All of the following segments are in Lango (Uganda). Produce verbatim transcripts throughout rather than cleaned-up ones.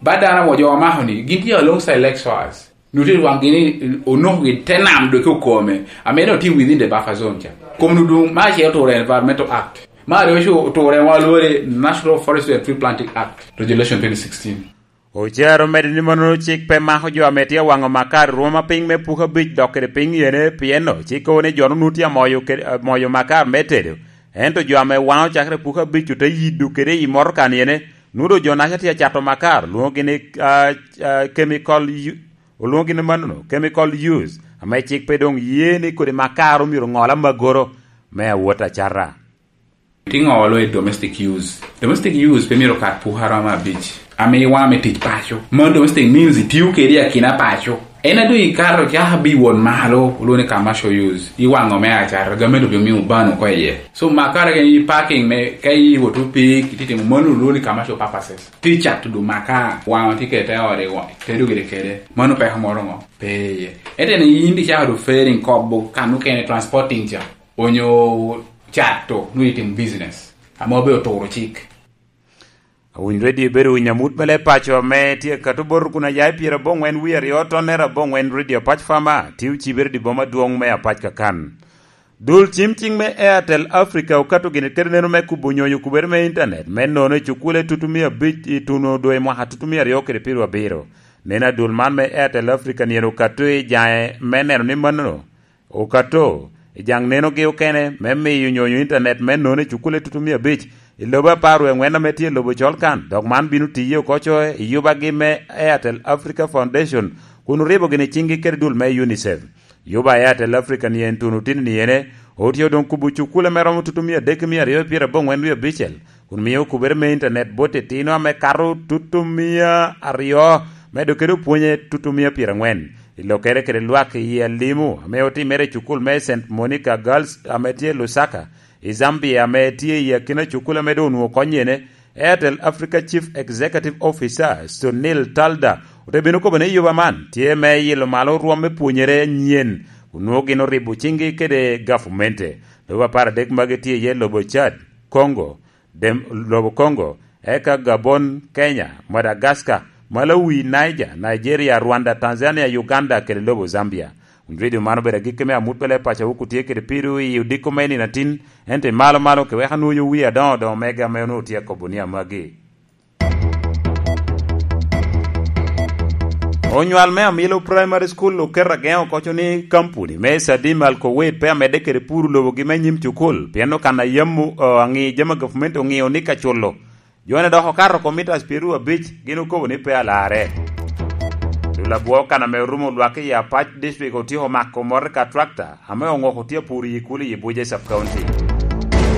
Ba dano mo jo omako ni, gin tye alongside Lake Shores. Nutye lwak gini onoko gi te nam doki okome. Ame no tye within the buffer zone cha. Kom nu dum ma ce oturo Environmental Act. Ma ryo cu oturo wa lwore National Forestry and Tree Planting Act, Regulation twenty sixteen. Ocero medo ni mono cik pe mako jo ame tye awaŋo makar rwoma piny me puko abic dok kede piny yene, pien no cik kobo ni jo nunu tye amoyo kede, amoyo makar me tedo. Ento jo ame waŋo cakere puko abic ote yido kede i motoka ni ene, nudo jo naca tye acato makar, lwoŋogi ni, ah, ah, chemical u-, olwoŋogi ni manono, chemical use, ame cik pe doŋ ye ni kodi makar omyero ŋol amagoro me awot acata. Tye ŋo olo i domestic use? Domestic use pe myero kat puko aroma abic. Ame iwame tic paco. Mon domestic means itiyo kede i akina paco. En a doŋ ikato caka bi won malo, olwongo ni commercial use. Iwaŋo me acata, gamente obimio ban oko iye. So, makara gin i parking me, ka iwoto pig, ititimo mano olwongo ni commercial purposes. Ti cato du maka, waŋo ti kete ode, wa-, tedo gire kede. Mano peko moro ŋo? Pe iye. Ete ni yin di caka du fairing kobo kan okene transporting ca. Onyo cato, nwoŋo itimo business. Ame obedo turo cik. Awiny redio ibedo winyo amut me leb paco ame tye ka tuboro kun aya i pyera aboŋwen wie aryo tonnere aboŋwen redio Apac Fama, tye ocibere di boma adwoŋ me Apac kakan. Dul cim cing me Airtel Africa okato gini kede neno me kubo nyonyo kubere me internet me nono i cukule tutumia abic i tuno dwe mwaka tutumia aryo kede pyero abiro. Neno adul man me Airtel Africa nyen okato i jaŋe me neno ni mano okato i jaŋ nenogi okene me miyo nyonyo internet me nono i cukule tutumia abic i lobo apar wie angwen ame tye i lobo col kan, dok man bino tiye oko coe i yubagi me Airtel Africa Foundation, kun oribo gini ciŋgi kede dul me UNICEF. Yuba Airtel Africa ni en tuno tini ni ene, otye odoŋ kubo cukule me romo tutumia adek ki mia aryo i pyera aboŋwen wie abicel, kun mio kubere me internet bot itino ame kato tutumia aryo, medo kede opwonye tutumia pyera angwen. I lokere kede lwak i Alimu, ame otimere i cukul me Saint Monica Girls ame tye i Lusaka, i Zambia, ame tye i akina cukul ame doŋ onwoŋo konyo ene, Airtel Africa Chief Executive Officer, Sunil Talda, ote bino kobo ni yuba man tye me yilo malo rwom me pwonyere anyen, onwoŋo gin oribo ciŋgi kede gavumente. Lobo apar adek magi tye iye lobo Chad, Congo, Dem-, lobo Congo, eka Gabon, Kenya, Madagascar, Malawi, Niger, Nigeria, Rwanda, Tanzania, Uganda, kede lobo Zambia. Winy redio man obedo agikki me amut me leb paco wok otye kede pido i odiko me nino atin, ento i malo malo ke wek anwoyo wie adoŋo doŋo mega ame onwoŋo tye akobo ni amagi. Onywal me Amilo Primary School oketo ageŋo koco ni kampuni me Sadim Alkowet pe amedde kede puro lobogi me nyim cukul, pien okan a yam o-, aŋi jami a gavumenti oŋio ni ka culo. Jo-ni dok okato oko mitas pyeraryo abic, gin okobo ni pe alarre. Dul abwo kan ame orumo lwak i Apac District otyeko mako motoka tractor ame oŋoko tye apuro i Ikuli i Abuja Sub County.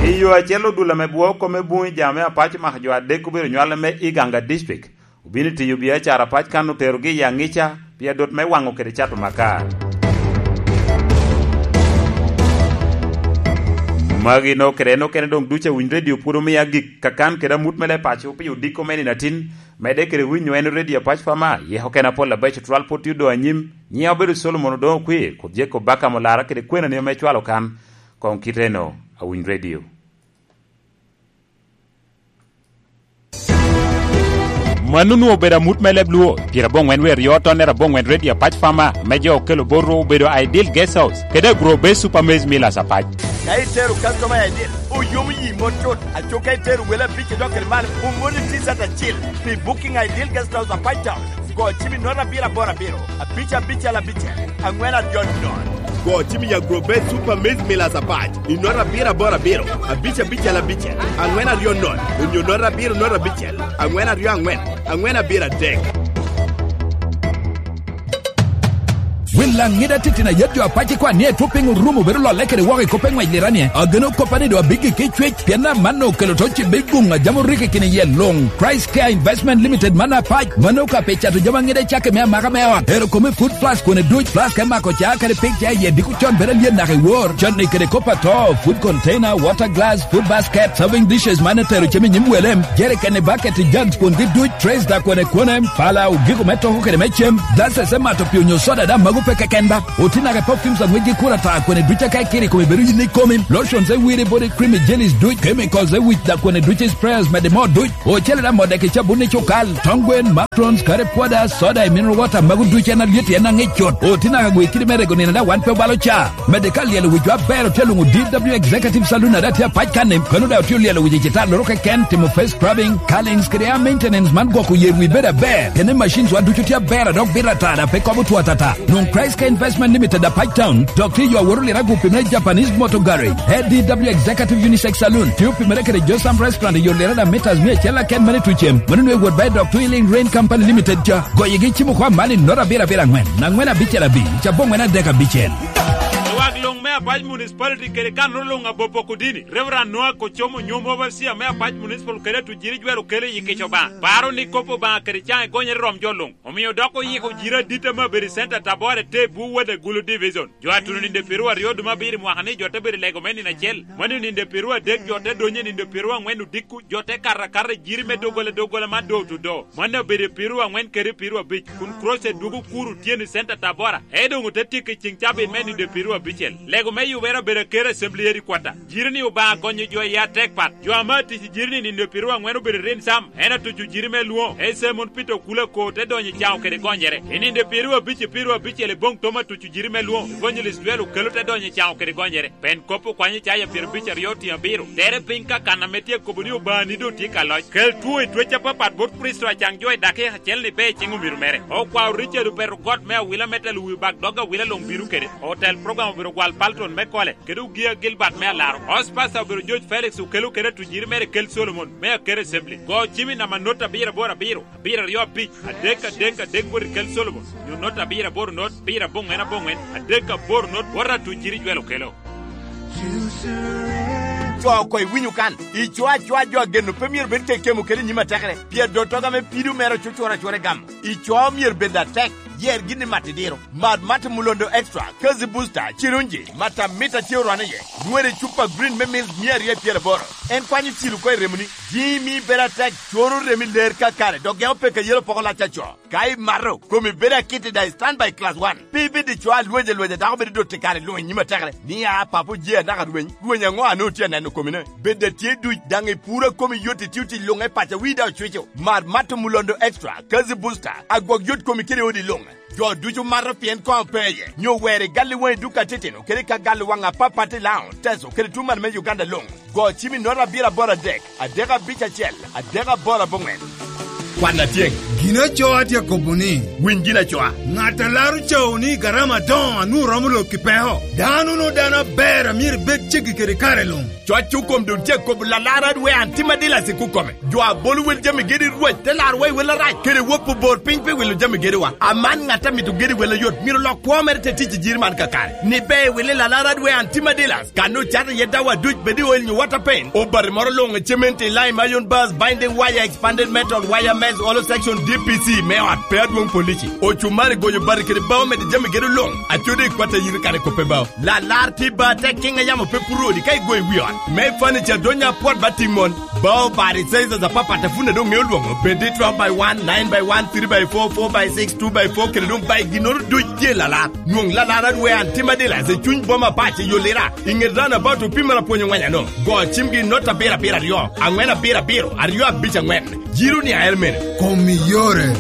I yo acel, odul ame bwo kome buŋ i jami me Apac omako jo adek obedo nywale me Iganga District, obino i tiyo biacara Apac kan oterogi i Aŋica pi adot me waŋo kede cato makar. Magi no kede en okene doŋ ducu awiny redio pwod omio agik kakan kede amut me leb paco pi odiko me nino atin, medde kede winyo en redio Apac Fama, yeko kene apol abeco twal pwod tye odoŋ anyim, nyiŋa obedo Solomon Odoŋo Okwi, kod Jacob Bakam Olara kede kwenani ame cwalo kan, koŋ kite eno, awiny redio. Mano onwoŋo obedo amut me leb Luo, pyerabongwen wie aryo tonnere abongwen redio Apac Fama, me jo okelo botwu obedo Ideal Guest House, kede Agro Base Super Maize Millers Apac. Ka itero customer i Ideal, oyomo yi mot tut. Aco ka itero wele abic idok kede man, omoni T-shirt acil pi booking Ideal Guest House Apac Town. Go cim i note abiro aboro abiro, abic abicel abicel, angwen aryo nono. Go cim i Agro Base Super Maize Millers Apac i note abiro aboro abiro, abic abicel abicel, angwen aryo nono, onyo note abiro note abicel, angwen aryo angwen, angwen abiro adek. Wil Laŋet atitino a yet jo Apac ikwan ni etwo piny orumo bedo lolle kede woko i kop me ŋwec lira ni, ageno koppa ni doŋ abigikki cwec, pien amanno okelo to cibbe i guŋ a jami orikki kine iye luŋ. Christ Care Investment Limited man Apac, mano ka pe cato jami aŋet acakki me amaka me ot, ero kome food flask kone duc, flask me mako ca kadi pik ca iye diko con bedo alyet naka i wor, canni kede kop ato, food container, water glass, food basket, serving dishes man etero cem i nyim wele, jerikeni, baketi, jugs kwongi duc, trays da kwone kwone, pala, ogiko me toko kede me cem, glasses me mato pii onyo soda daŋ mago Pe keken ba, otinaga i perfumes a ŋwecgi kur ata, kwene duc aka ikiro i kome bedo yin i komi. Lotions e wire, body cream, jellies duc, chemicals e wic, da kwene duc i sprayers mede moo duc. Ocele da modde ki cabun i cukal, tongwen, matrons, kare pwoda, soda i mineral water, magu duc en alyet, en aŋic cut. Otinaga gwe kidi me rego nino da wan pe obalo ca. Mede ka lyelo wi jo aber otye luŋo D W Executive Saloon a da tye apac kan-ni, kono da otye olyelo wi citar loro keken, timo face scrubbing, curlings kede hair maintenance man gwoko yer wi bedo aber. Kene machines wa ducu tye aber a dok bito atara pe kobo two atata. Nwoŋo Christ Care Investment Limited a Pike Town, dok tye yo awot oliro agupi me Japanese Motor Garage. A D W Executive Unisex Saloon, tye opimere kede Josam Restaurant i yo liro da meters mia acel aken mene tucem. Mano nwe wot ba i dok Twilling Rain Company Limited ca. Goyegi cimo kwa mani not abiro abiro angwen, angwen abicel abi, ca bongwen adek abicel. Lwak luŋ me Apac Municipality kede kanoro luŋ abopo kodini, Reverend Noah Kocomo, nyom overseer me Apac Municipal kede atujiri jwero kelo i kic Obaŋa. Paro ni kop Obaŋa kede caŋ egonyere rom jo luŋ. Omio dok oyiko jiro adit ame obedo i center Tabora te bur wode Gulu Division. Jo a tuno ninde piru aryo duma abiro i mwaka ni jo te bedo i lego me nino acel. Mani ninde piru adek jo te donyo ninde piru angwen odiko, jo te kato akata i jiri me doggola doggola man door to door. Mani obedo i piru angwen kede piru abic, kun crusade dwogo kuro otyeno i center Tabora. E doŋ ote tyeko i ceŋ cabit me ninde piru abicel. Lego me yubere obedo aker assembly headquarter. Jiri ni Obaŋa gonyo jo i atek pat. Jo ame atic i jiri ni ninde piru angwen obedo i rin sam. En atuco jiri me lwoŋo, en Simon Peter Okula ko te donyo i caŋo kede gonyere. I ninde piru abic i piru abicel i boŋ tom atuco jiri me lwoŋo, Evangelist Dwel Okelo te donyo i caŋo kede gonyere. Pen kop okwanyo caya pyero abic aryo otiŋ abiro. Tere piny ka kan ame tye kobo ni Obaŋa ni doŋ tye ka loc. Kel two i twec apapat bot Kricito acaŋ jo i dakika acel ni be i ciŋ omiro mere. Okwao Richard Opeto got me awila me telo wi bak dog awila luŋ bino kede. Otel program obiro gwal Palton me kole. Kede Ogia Gilbert me Alaro. House Pastor obedo George Felix Okelo kede atujiri mere Kel Solomon me Akere Assembly. Go cim i namba not abiro aboro abiro, abiro aryo abic, adek adek adek bot i Kel Solomon, nyo not abiro aboro not, abiro aboŋwen aboŋwen, adek aboro not, bot atujiri Jwel Okelo. Co oko iwinyo kan, ico acoa jo ageno pe myero bed kekemo kede i nyim atekere, pien dottoga me pido mere ocucura acura i gamo. Ico myero bed atek, yer gin i mat idiro. Mat Mata Mulondo Extra, Kazi Booster, Cirunji, Mata Mita tye orwane iye. Nywere cupa green me mil mia aryo pyeraboro. En kwanyo cil oko i remoni. Jimi bedo atek, coro remi ler kakare, dok gemo peke yelo poko lac aco. Ka imato, komi bedo akiti daŋ i standby class one. Pe ibed i co alwec alwec a dako bedo dot i kare luŋ i nyim atekere. Ni a papo je anaka rweny, rweny aŋo a nwoŋo tye aneno komine? Bed a tye duc, daŋ i puro a komi yot i tio tic luŋ e paco, wi daŋ ocwico. Mar Mata Mulondo Extra, Kazi Booster, agwok yot komi kede odi luŋ. Jo ducu mato pien koŋ pe iye, nyo wer i gal i waŋi duka titino, kede ka gal i waŋ apapat i Laŋo, Teso, kede tuŋ man me Uganda luŋ. Go cim i nota abiro aboro adek, adek abic acel, adek aboro aboŋwen. Kwan atyeŋ. Gin acoa tye akobo ni, winy gin acoa. Ŋat a laro cawo ni garama adoŋo a nwoŋo romo lok i peko. Dano no dano aber a myero ibed ceggi kede kare luŋ. Coc okom doŋ tye akobo lalara dwe an tim adilac i kukome. Jo a bolo wel jami gedi Rwot te laro wa i wel arac, kede wop obor piny pi wilo jami gediwa. Aman ŋat a mito gedi wel ayot myero lok kwo mere te tic i jiri man kakare. Ni be i wili lalara dwe an tim adilac. Kan ocato iye dawa duc bed i oil nyo water paint. Obati moro luŋ i cement i lime, iron bars, binding wire, expanded metal, wire mesh, hollow section, D P C me ot, pe adwoŋ polici. Ocumari goyo bati kede bao mede jami gedo luŋ. Acode i kwat ayiri kare kope bao. Lalar tye ba tek kiŋ a yamo pe puro odi ka igo i wi ot. Me furniture donya apwot ba timon. Bao bati sizes apapat a pwod doŋ ŋeo lwoŋo. Bed i twelve by one, nine by one, three by four, four by six, two by four, kede doŋ by ginnoro duc tye lalar. Nwoŋ lalar adwe an tim adila i cuny boma pac i Yolira. I ŋet roundabout opimere apwony oŋweny ano. Go cimgi i not abiro abiro aryo, aŋwen abiro abiro, aryo abic aŋwen. Jiro ni aer mene. Kom i yore.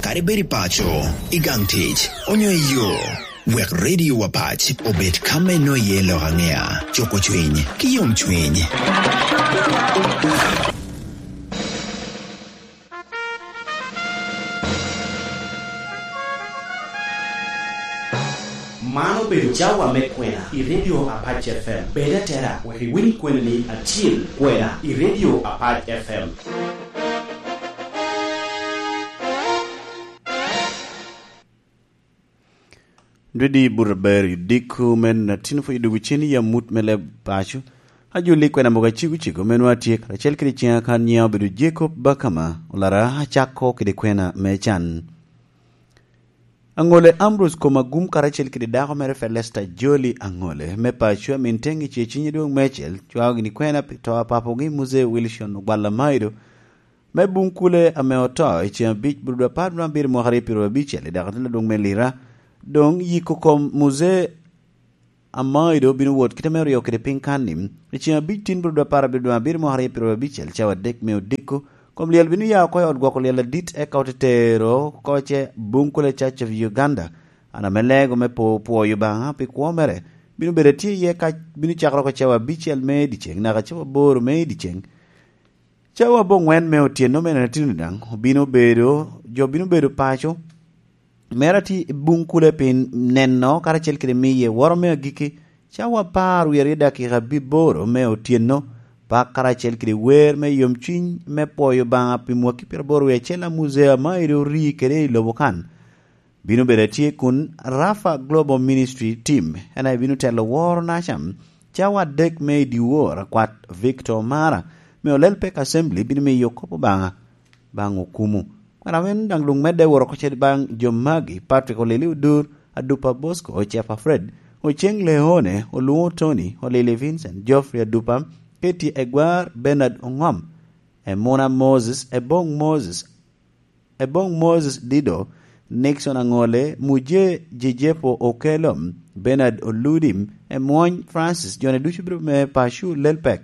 Kadi bed i paco, i gang tic, onyo i yo, wek Radio Wapac obed ka me nwoŋo iye lok aŋea, cuko cwiny, ki yomcwiny. Man obedo cawa me kwena i Radio Apac F M. Bed atera wek iwiny kweni ni acil kwena i Radio Apac F M. Dwedi buto aber i diko me natino pwod idugo cen i amut me leb paco. Ajoli kwena mogo acego cego me nwa tye karacel kede ciŋa kan nyiŋa obedo Jacob Bakama, olara acako kede kwena me can. Aŋole Ambrose Komagum karacel kede dako mere Felesta Joli Aŋole me paco amin teŋ i ce cinye dwoŋ meicel cwao gini kwena pi to a papogi Muse Wilson Ogwal Amaido. me Bunkule ame oto i ceŋ abic, Budo apar dwe abiro mwaka aryo pyeraryo abicel, i dakatin adwoŋ me Lira. Doŋ yiko kom Muzee Amaido bino wot kite me ryo kede piny kan-ni. I ceŋ abic tin Budo apar abiro dwe abiro mwaka aryo pyeraryo abicel, cawa adek me odiko, kom lyel bino ya oko i ot gwoko lyel adit, eka ote tero oko ce Bunkule Church of Uganda. An ame lego me po-, pwoyo Obaŋa pi kwo mere, bino bedo atye iye ka bino cakere oko cawa abicel me dyeceŋ naka cawa aboro me dyeceŋ. Cawa aboŋwen me otyeno me nino daŋ obino bedo, jo bino bedo paco, mera tye i Bunkule pi neno karacel kede miye woro me agikki, cawa apar wie aryo dakika abiboro me otyeno, pak karacel kede wer me yomcuny me pwoyo Obaŋa pi mwaki pyeraboro wie acel a Muzee Amaido ori kede i lobo kan. Bino bedo atye kun Rafa Global Ministry Team, en aye bino telo woro naca. Cawa adek me i dyewor akwat Victor Mara me Olelpek Assembly bino miyo kop Obaŋa baŋ okumu. Kwena wen daŋ luŋ medde woro oko ce baŋ jo magi: Patrick Olili Odur, Adupa Bosco, Ocepa Fred, Oceng Leone, Oluŋo Tony, Olili Vincent, Geoffrey Adupa, Katie Egwar, Bernard Ongom, Emuna Moses, Ebong Moses, Ebong Moses Dido, Nixon Aŋole, Muje Jejepo Okelo, Bernard Oludim, Emwony Francis, jone ducu bino me paco Olelpek.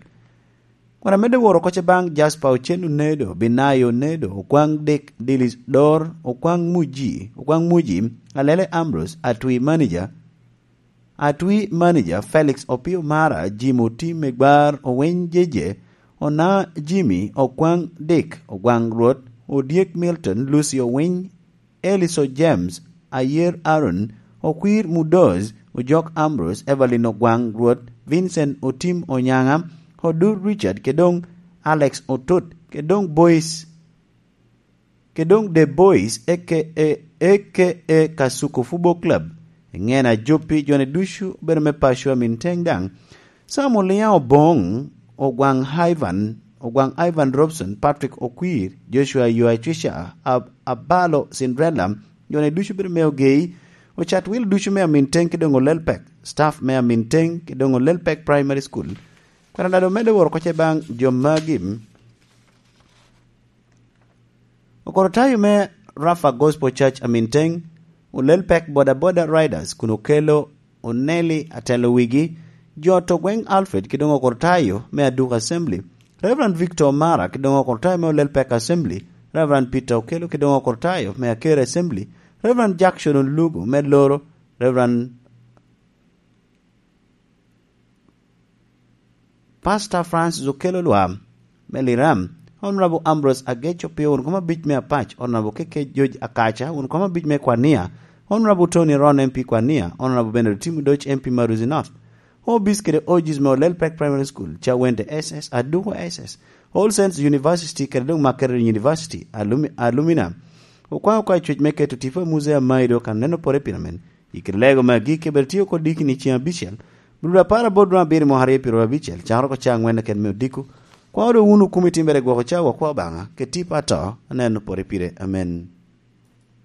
Kun amedde woro oko ce baŋ Jasper Ocen Onedo, Binayo Onedo, Okwaŋ Dick Dilis Dor, Okwaŋ Muji, Okwaŋ Muji, Alele Ambrose, Atwi Manager, Atwi Manager, Felix Opio Mara, Jim Otim Egwar, Owiny Jeje, Ona Jimmy, Okwaŋ Dick, Ogwaŋ Rwot, Odyek Milton, Lucy Owiny, Eliso James, Ayer Aaron, Okwir Mudoz, Ojok Ambrose, Evelyn Ogwaŋ Rwot, Vincent Otim Onyaŋa, Odur Richard, kede doŋ Alex Otut, kede doŋ Boys, kede doŋ The Boys, A K A, A K A Kasuku Football Club. Eŋen ajoppi jone ducu obedo me paco Aminteng daŋ. Sam Oliŋa Oboŋ, Ogwaŋ Ivan, Ogwaŋ Ivan Robson, Patrick Okwir, Joshua Yoacuca, Ab-, Abalo Cinderella, jone ducu bedo me Ogei, ocat wil ducu me Aminteng ki doŋ Olelpek, staff me Aminteng ki doŋ Olelpek Primary School. Kwena dado medde woro oko ce baŋ jo magi. Okorotayo me Rafa Gospel Church Aminteng, Olelpek Boda Boda Riders kun okelo Oneli atelo wigi, jo to gweŋ Alfred ki doŋ Okorotayo me Aduka Assembly, Reverend Victor Mara ki doŋ Okorotayo me Olelpek Assembly, Reverend Peter Okelo ki doŋ Okorotayo me Akere Assembly, Reverend Jackson Olugo me Loro, Reverend Pastor Francis Okello Lwam me Liram, Honorable Ambrose Agech Opio, wun kom abic me Apac, Honorable K K George Akaca, wun kom abic me Kwania, Honorable Tony Ron, M P Kwania, Honorable Bernard Otim Odoc, M P Maruzi North. Obis kede Ogis me Olelpek Primary School, Cawende S S, Aduko S S, All Saints University, kede doŋ Makerere University, alumi-, alumina. Okwaŋ oko acwec me keto tipo a Muzee Amaido kan neno pore pire men. I kite lego me agikki, bed tye oko diki ni ceŋ abicel, Budo apar aboro dwe abiro mwaka aryo pyeraryo abicel, cakere oko cawa aŋwen keken me odiko. Kwaŋ odo wunu kumi timbere gwoko cawa akwa Obaŋa, kede tipo ato, aneno pore pire. Amen.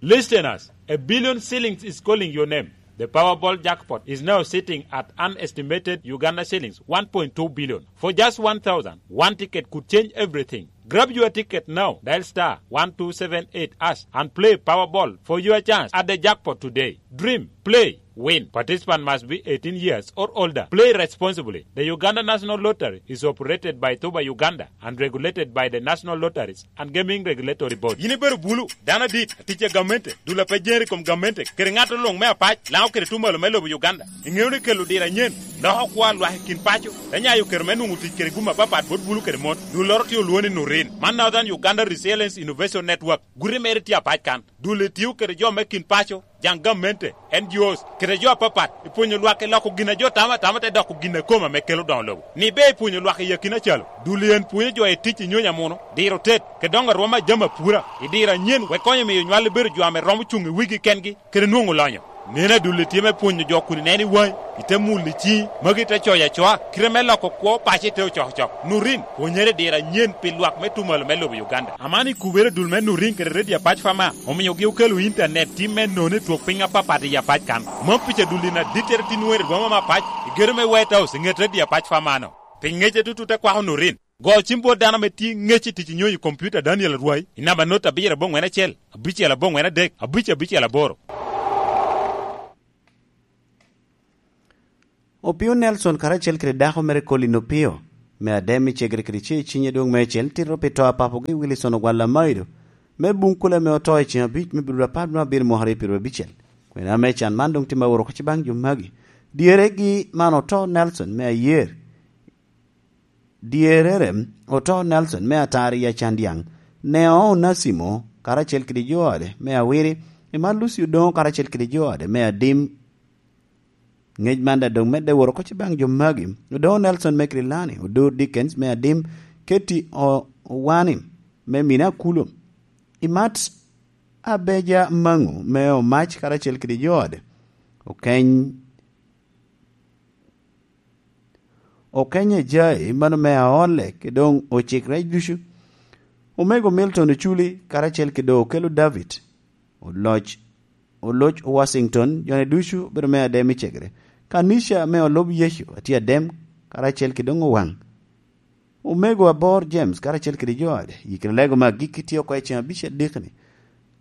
Listeners, a billion shillings is calling your name. The Powerball jackpot is now sitting at an estimated Uganda shillings one point two billion. For just one thousand, one ticket could change everything. Grab your ticket now. Dial star one two seven eight hash and play Powerball for your chance at the jackpot today. Dream, play, win. Participant must be eighteen years or older. Play responsibly. The Uganda National Lottery is operated by Tuba Uganda and regulated by the National Lotteries and Gaming Regulatory Board. Yin ibedo bulu, dano adit, atic a gamente, dul a pe jeri kom gamente, kede ŋat oloŋ me Apac, Laŋo kede Tumalo me lobo Uganda. Iŋeo ni kelo diro anyen loko kwo a lwak i kin paco, te nyayo kero me nwoŋo tic kede gum apapat bot bulu kede mon. Dulloro tye olwoŋo ni Nurin. Man Northern Uganda Resilience Innovation Network. Guti mere tye Apac kan. Dul-li tio kede jo me kin paco, jaŋ gamente, N G Os, kede jo apapat, i pwonyo lwak i loko gin a jo tamo atama te doko gin a kome ame kelo doŋo lobo. Ni ber i pwonyo lwak i akina calo, dul-li en pwonyo jo i tic i nyonyo amuno, diro tet, kede doŋo arwom a jami apura, i diro anyen, wek konyo miyo nywal-li bedo jo ame romo cuŋ i wigi kengi, kede nwoŋo lonyo. Neno adul-li tye me pwonyo jo kun ineno i waŋi, ite mulo i ciŋi, magi ite coyo acoa, kite me loko kwo paco ite ocokocok. Nurin, pwonyere i diro anyen pi lwak me Tumalo me lobo Uganda. Aman ikubere dul me Nurin kede Radio Apac Fama, omiogi okelo intanet tim me none i twok piny apapat i Apac kan. Mom pica dul-li na dittere tin nwoŋere i boma me Apac, i gedo me White House, i ŋet Radio Apac Fama-no. Pi ŋece tutut akwako Nurin. Go cim bot dano ame tye ŋec i tic i nyonyo i kompiuta Daniel Arwai i namba not abiro aboŋwen acel, abicel aboŋwen adek, abic abicel aboro. Opio Nelson karacel kede dako mere Colin Opio, me adem i cegere kede ce i cinye dwoŋ meicel, tito pi to a papogi Wilson Ogwal Amaido, me buŋ kule ame oto i ceŋ abic me Bidwur apar bino abiro mwaka aryo pyeraryo abicel. Kwena me can man doŋ tye ma oro oko ci baŋ jo magi. Dyeregi man oto Nelson me ayer. Dyerere oto Nelson me atar i Acandyaŋ, Neo Onasimo karacel kede jo ode me awiri, Emma Lucy Odoŋo karacel kede jo ode me adim. Ŋec man daŋ doŋ medde woro oko ci baŋ jo magi, Odoŋo Nelson me Kirilani, Odo Dickens me adim, Ketty O-, Owani me mine Akulu, Imat Abeja Maŋu me Omac karacel kede jo ode, Okeny Okeny Ajai, mano me Aole, kede doŋ Ocik Rec ducu. Omego Milton Oculi, karacel kede doŋ Okelo David, Oloc, Oloc Washington, jone ducu obedo me adem i cegere. Kanica me Olub Yecu, atye adem, karacel kede doŋ Owaŋ. Omego Abor James, karacel kede jo ode, yikere lego me agikki tye oko i ceŋ abicel dikni.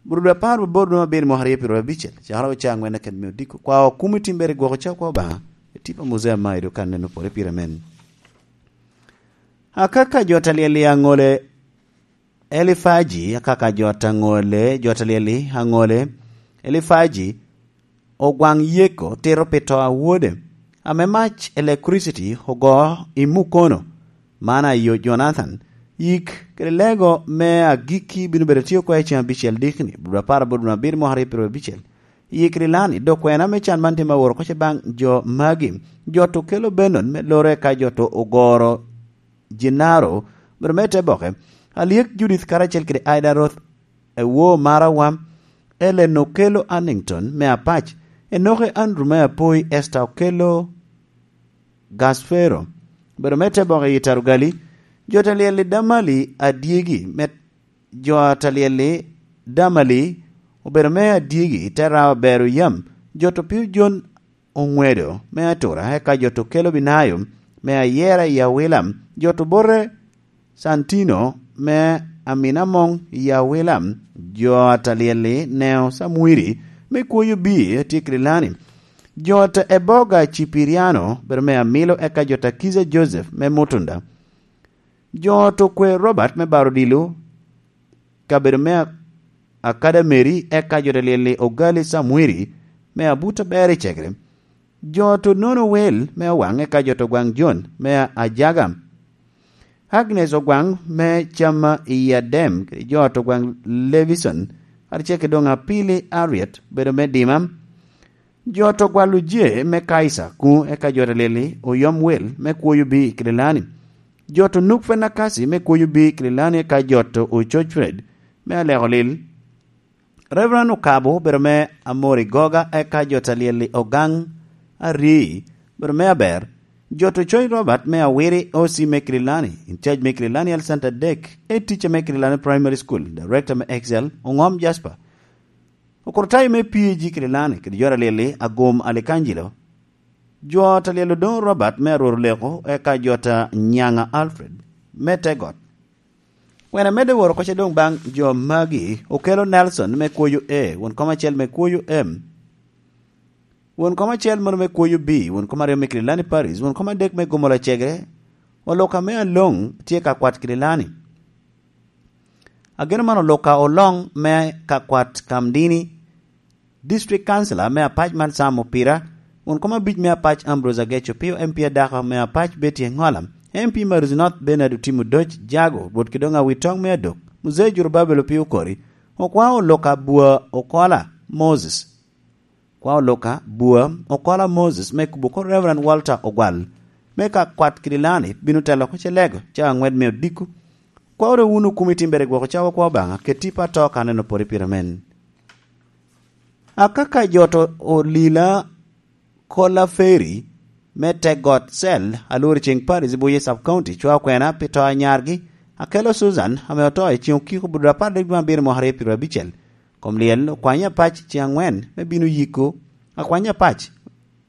Bur dwe apar baboro dwe me abiro mwaka aryo pyeraryo abicel, cakere oca aŋwen aked me odiko, kwa okumo i timbere gwoko ca kwa Obaŋa, i tipo a Muzea Maido kan neno pore pire men. Akaka jo ta lyel i aŋole Elifaji, akaka jo ta ŋole, jo ta lyel i aŋole Elifaji, Ogwaŋ Yeko tito pi to a wode, ame mac electricity ogo i mukono, man ayo Jonathan, yik kede lego me agikki bino bedo tye oko i ceŋ abicel dikni, bur apar aboro dwe abiro mwaka aryo pyeraryo abicel. Yik kede lani, dok kwena me can man tye ma woro oko ce baŋ jo magi, jo to kelo Benon me lore ka jo to ogoro Gennaro, obedo me te boke, Alyek Judith karacel kede Aida Roth, Ewo Marawa, Ellen Okello Annington me Apac, Enoke Andrew me Apoi, Esther Okello Gasfero, obedo me te boke i Tarugali, jo ta lyel i Damali adyegi, me jo ta lyel i Damali obedo me adyegi, te rawa bero yam, jo to pio John Oŋwedo me Atura, eka jo to kelo Binayo me Ayera i Awila, jo to bote Santino me Aminamoŋ i Awila, jo a ta lyel i Neo Samwiri me Kwoyo Bii tye Kirilani, jo ta Eboga Cipiriano bedo me Amilo, eka jo ta Kiza Joseph me Mutunda, jo to kwe Robert me Barodilo, kabedo me a-, Akada Meri, eka jo ta lyel i Ogali Samwiri me Abuta Ber i Cegere, jo to nono wel me Owaŋ, eka jo to Gwaŋ Jon me Ajaga, Agnes Ogwaŋ me Cama i Adem, kede jo to Gwaŋ Levison, karacel kede doŋ Apili Ariet, bedo me Dima, jo to Gwal Ojee me Kaisa kuŋ, eka jo ta lyel i Oyom Wel me Kwoyo Bii i Kirilani, jo to Nuk Fenakasi me Kwoyo Bii i Kirilani, eka jo to Ococ Fred me Aleko Lil, Reverend Okabo obedo me Amori Goga, eka jo ta lyel i Ogaŋ Arii obedo me Aber, jo to Coc Robert me Awiri O C me Kirilani, in charge me Kirilani Health Center dek, e teacher me Kirilani Primary School, director me Excel, Oŋom Jasper, Okortayo me P A G Kirilani, kede jo ta lyel i Agum Alikanjilo, jo ta lyel Odoŋo Robert me Arwor Oleko, eka jo ta Nyaŋa Alfred me Tegot. Kwena medde woro oko ce doŋ baŋ jo magi, Okelo Nelson me Kwoyo A, won kom acel me Kwoyo M, won kom acel moro me Kwoyo B, won kom aryo me Kirilani Paris, won kom adek me Gomola Cegere, Oluka me Aloŋ tye ka kwat Kirilani. Ageno man Oluka Oloŋ me ka kwat Kamdini, District Councilor me Apac man Sam Opira, won kom abic me Apac Ambrose Ageco Opio, M P adako me Apac Betty Engola, M P Maris North Bernard Otimo Doc Jago, Rwot Kidoŋ Awitoŋ me Adok, Muzee Jurubabel Opio Okori, Okwa Oluka Bua Okola Moses, Kwa Oluka Bua Okola Moses me kubo ko Reverend Walter Ogwal, me ka kwat Kirilani bino telo oko ce lego ca aŋwen me odiko. Kwa ore wun okumi timbere gwoko cawa kwa Obaŋa, keti pa to ka neno pore pire men. Akaka jo to olila Kola Ferry me te got Cell, alwor i ceŋ Paris i Buye Sub County, cwa kwena pi to a nyargi, Akelo Susan, ame oto i ceŋ okiko budura apar dek dwe abiro mwaka aryo pyeraryo abicel. Kom lyel okwany apac ceŋ aŋwen me bino yiko, akwany apac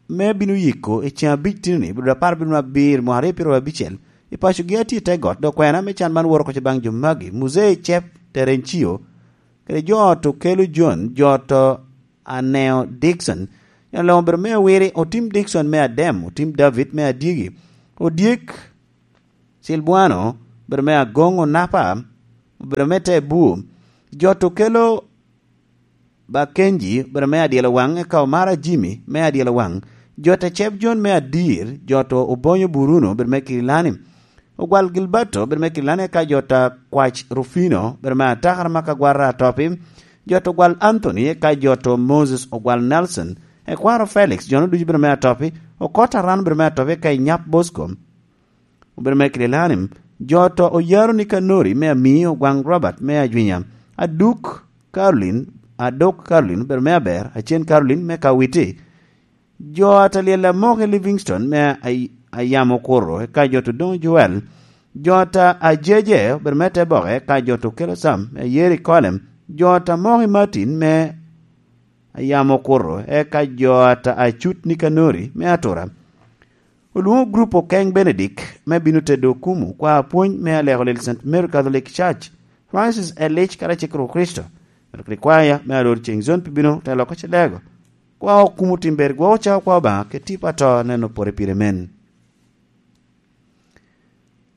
me bino yiko i ceŋ abic tinoni, budura apar dwe abiro mwaka aryo pyeraryo abicel, I pacogi a tye i te got, dok kwena me can man woro oko baŋ jo magi: Muzei Cep Terencio, kede jo to kelo Jon, jo to Aneo Dikson, jo loŋo obedo me awiri, Otim Dikson me Adem, Otim David me Adyegi, Odyek Silbuano obedo me Agoŋ, Onapa obedo me te Bur, jo to kelo Bakenji obedo me Adyelo Waŋ, eka Omara Jimmy me Adyelo Waŋ, jo te Cep Jon me Adir, jo to Obonyo Buruno obedo me Kirilani, Ogwal Gilberto obedo me Kirilani, eka jo ta Kwac Rufino obedo me Atakara ma Kagwara Atopi, jo to Ogwal Anthony, eka jo to Moses Ogwal Nelson, ekwaro Felix, jo no ducu obedo me Atopi, Okot Aran obedo me Atopi, eka Inyap Bosco obedo me Kirilani, jo to Oyaro Nikanori me Ami, Ogwaŋ Robert me Ajwinya, Aduk Caroline, Aduk Caroline obedo me Aber, Acen Caroline me Kawiti, jo a Talyel Amoki Livingstone me Ay-, Ayamo Kuro, eka jo to Doŋ Joel, jo ta Ajeje obedo me Teboke, eka jo to Kelo Sam me Yeri Kolem, jo ta Moki Martin me Ayamo Kuro, eka jo ta Acut Nikanori me Atura. Olwoŋo grup Okeŋ Benedik me bino tedo okumu, kwa apwony me aleko lil Saint Mary Catholic Church, Francis Elic karacel kede Kricito, Mary Krikwaya me alor ceŋ zon pi bino telo oko Celego, kwa okumu timber gwoko cawa kwa Obaŋa kede tipo ato neno pore pire men.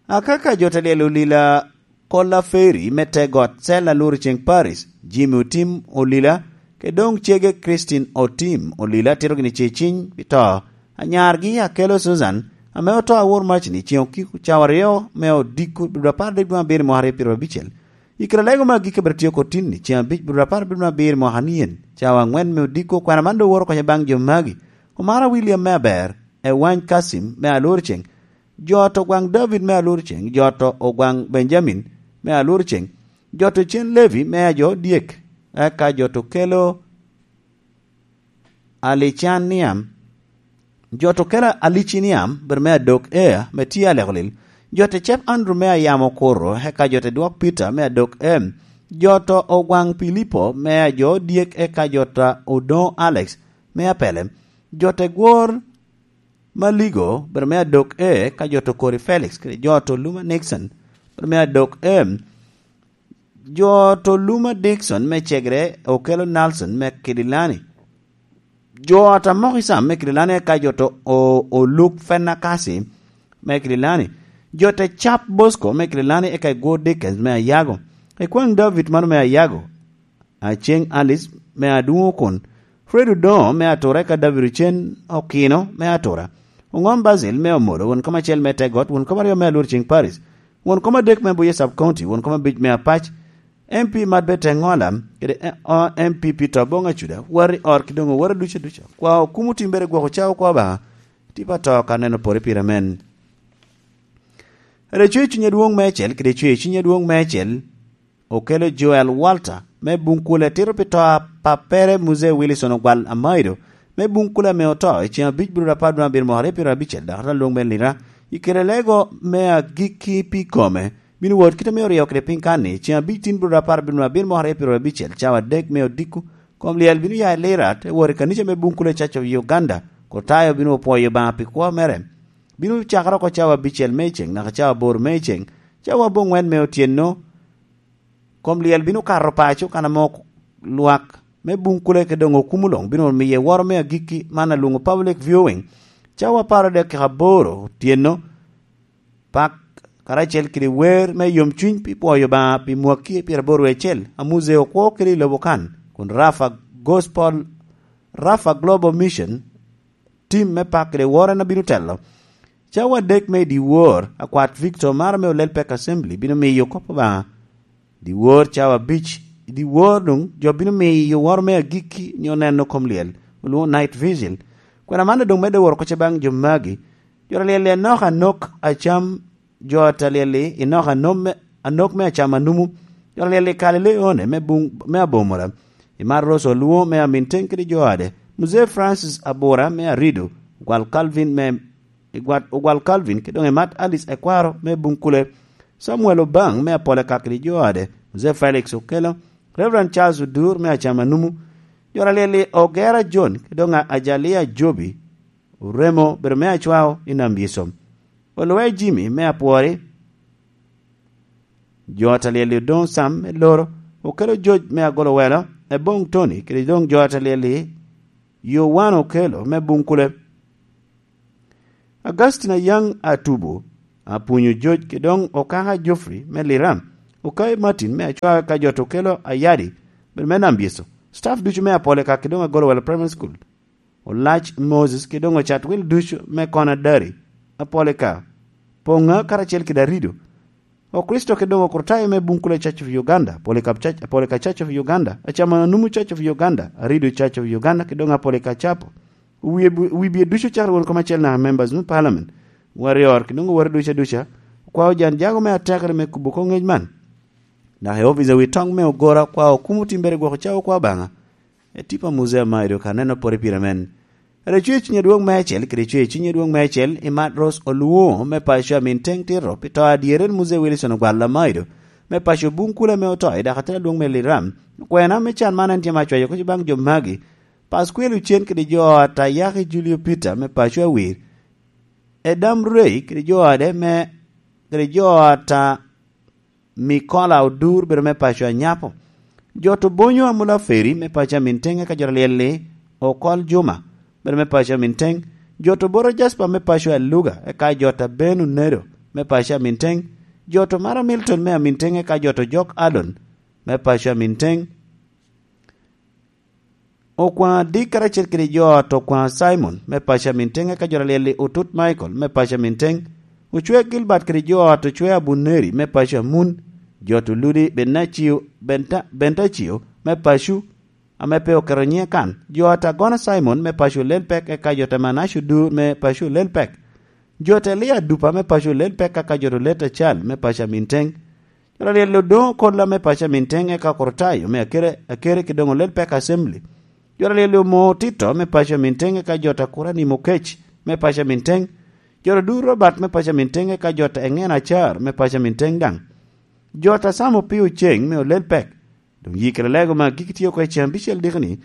Akaka jo te lyel olila Kola Ferry me te got Sel Alur Ceŋ Paris, Jimmy Otim Olila, kede doŋ cege Christine Otim Olila tito gini ce ciny pi to. Anyargi Akelo Susan, ame oto awor mac ni ceŋ okiko cawa aryo me odiko dwe apar dek dwe abiro mwaka aryo pyeraryo abicel. I kare lego me agikki abiro tye oko tin ni ceŋ abic dwe apar dwe abiro mwaka nien, cawa aŋwen me odiko, kwena man doŋ woro konye baŋ jo magi. Omara William me Aber, Ewany Kasim me Alur Ceŋ, jo to Ogwaŋ David me Alur Ceŋ, jo to Ogwaŋ Benjamin me Alur Ceŋ, jo to Cen Levi me Ajo Dyek, eka jo to Kelo Alicaniam, jo to Kelo Aliciniam, bedo me Adok Ea, me tye Alekolil, jo to Cep Andrew me Ayamo Kuro, eka jo to Dwok Peter me Adok Em, jo to Ogwaŋ Pilipo me Ajo Dyek, eka jo to Odoŋo Alex me Apele, jo to Gwor Maligo, bedo me Adok E, ka jo to Kori Felix, kede jo to Luma Nixon, bedo me Adok M, jo to Luma Dixon me Cegre, Okelo Nelson me Kidilani, jo ata Mok Isam me Kidilani, eka jo to O-, Oluk Fenakasi me Kidilani, jo te Cap Bosco me Kidilani, eka Igwor Dickens me Ayago, Ikwaŋ David mano me Ayago, Aceŋ Alice me Adwoŋ Okon, Fred Odoŋo me Atura, eka David Ocen Okino me Atura, Oŋom Basil me Omolo, won kom acel me Tegot, won kom aryo me Alur Ceŋ Paris, won kom adek me Buye Sub County, won kom abic me Apac, M P Mat Beteŋola, kede, eh, o-, M P Peter Oboŋ Acuda, wari ot ki doŋ owara ducu aduca. Kwa okumo timbere gwok ocawo kwa Obaŋa, tipo ato ka neno pore pire men. Reco i cuny adwoŋ me acel, kede cwe i cuny adwoŋ me acel, Okelo Joel Walter me Bunkule tito pi to a pappere Muzee Wilson Ogwal Amaido me Bunkule ame oto i ceŋ abic bur apar dwe abiro mwaka aryo pyeraryo abicel, dok ata lwong me lira i kare lego me agikki pi kome. Bino wot kite me oryo kede piny kan-ni, ceŋ abic tin bur apar bino abiro mwaka aryo pyeraryo abicel, cawa adek me odiko, kom lyel bino ya i lira, te wot i kanica me Bunkule Church of Uganda, kun tayo bino opwoyo Obaŋa pi kwo mere. Bino cakere oko cawa abicel me ceŋ, naka cawa aboro me ceŋ, cawa aboŋwen me otyeno, kom lyel bino kato paco kan ame ok-, lwak me Bunkule kede doŋ okumo luŋ bino miye woro me agikki man alwoŋo public viewing, cawa apar adek kika aboro otyeno. Pak karacel kede wer me yomcuny pi pwoyo Obaŋa pi mwakki pyeraboro acel, Amuze okwo kede i lobo kan, kun Rafa Gospel, Rafa Global Mission, tim me pak kede woro en abino telo. Cawa adek me i dyewor, akwat Victor maro me Olel Pek Assembly bino miyo kop Obaŋa. Dyewor cawa abic, i dyewor doŋ jo bino miyo woro me agikki nyo neno kom lyel, olwoŋo night vigil. Kwena man doŋ medde woro kocce baŋ jo magi. Jo a lyel i anok anok acam, jo a ta lyel i nok anom me, anok me acam anumu. Jo a lyel i Kalile One me buŋ, me Abomora. I Mar Rosa Olwo me Aminteŋ kede jo ade. Muzee Francis Abura me Arido, Gwal Calvin me, i Gwal, Ogwal Calvin, kede doŋ Emat Alice Ekwaro me Bunkule, Samuel Obaŋ me Apole Kak kede jo ade, Muzee Felix Okelo, Reverend Charles Odur me Acam Anumu, jo a lyel i Ogera John, kede doŋ Ajalia Jobi, Oremo bedo me Acwao i Nam Yesom. Olwe Jimmy me Apwori, jo ata lyel-li Odoŋo Sam me Loro, okelo Joc me Agolowelo, Eboŋ Tony kede doŋ jo ata lyel-li Yowan Okelo me Buŋkule. Augustine Ayaŋ Atubo, Apunyo Joc kede doŋ Okaka Geoffrey me Liram, Okai Martin me Acwaga ka jo to kelo Ayadi, bed me Nambyeco, staff ducu me Apolika kede doŋ Agolowelo Primary School, Olac Moses kede doŋ Ocatwil ducu me Konadari, Apolika, Poŋa karacel kede Arido, Okricito kede doŋ Okrutayo me Buŋkule Church of Uganda, Polycarp Church, Polycarp Church of Uganda, Acamananumu Church of Uganda, Arido Church of Uganda kede doŋ Apolicarp Chapel. Wie bu-, wi bie ducu cakere won kom acel naka members me parliament, warrior kede doŋ oworo ducu aduca, okwao jan jago me atekere me kubo koŋ ŋec man. Naka i opic a wi toŋ me Ogora okwao kumo timbere gwok cawo kwa Obaŋa. E tipo a Muzea Maido ka neno pore pire men. Rik cwe cuny adwoŋ meicel, kede cwe cuny adwoŋ meicel, i Matros Oluŋo me paco a Minteng Tito, pi to adyere en Muzee Wilson Ogwal Lamaido, me paco Buŋkule ame oto i dakatel adwoŋ me Liram. Kwena me can man en tye ma cwayo kec baŋ jo magi. Pasquale Ocen kede jo ata Yaki Julio Peter me paco Awir. Edam Rei kede jo ade me, kede jo ata Mikola Odur bedo me paco a Nyapo. Jo to Bonyo Amula Feri me paco a Minteng eka jo ta lyel-li Okol Juma bedo me paco a Minteng. Jo to Boro Jasper me paco a Luga eka jo ta Ben Onedo me paco a Minteng. Jo to Mara Milton me a Minteng eka jo to Jok Alon me paco a Minteng. Okwaŋ Adik karacel kede jo ot Okwaŋ Simon me paco a Minteng, eka jo ta lyel-li Otut Michael me paco a Minteng, Ocwe Gilbert kede jo ot Ocwe Abuneri me paco a Mun, jo ot Oludi Benacio, Benta-, Bentacio me paco ame pe oketo nyiŋe kan, jo ot Agona Simon me paco Lelpek, eka jo ot Manacio Dur me paco Lelpek, jo ot Elia Dupa me paco Lelpek, eka jo ot Leta Cal me paco a Minteng. Jo ta lyel-li Odoŋo Kolla me paco a Minteng, eka Korotayo me Akere, Akere kede doŋ Olelpek Assembly. Jo ta lyel-li Omoo Tito me paco a Minteng, eka jo ta Kurani Mokec me paco a Minteng. Jo ta Dur Robert me paco a Minteng, eka jo ta Eŋen Acar me paco a Minteng daŋ. Jo ta Sam Opio Ceng me Olelpek. Doŋ yikere lego me agikki tye oko i ceŋ abicel dikoni,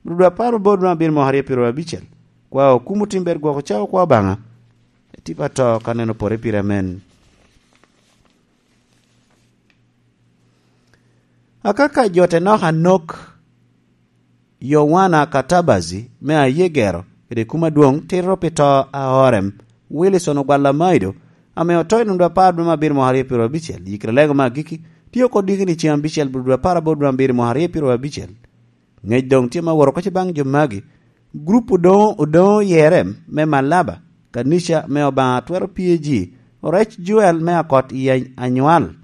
rudwa apar oboro dwe abiro mwaka aryo pyeraryo abicel. Kwa okumo tim ber gwoko cawa kwa Obaŋa. Etipa to ka neno pore pire amen. Akaka jo te nok anok, Yowana Katabazi me Ayegero, kede kum adwoŋ tito pi to a Orem, Wilson Ogwal Lamaido, ame oto i nwoŋo apar dwe me abiro mwaka aryo pyeraryo abicel, yikere lego me agikki, tye oko dikini ceŋ abicel bulu dwe apar aboro dwe abiro mwaka aryo pyeraryo abicel. Ŋec doŋ tye ma woro oko baŋ jo magi. Grup Odoŋo, Odoŋo Yerem me Malaba, kanica me Obaŋa twero P A G, Orec Joel me Akot i Anywal.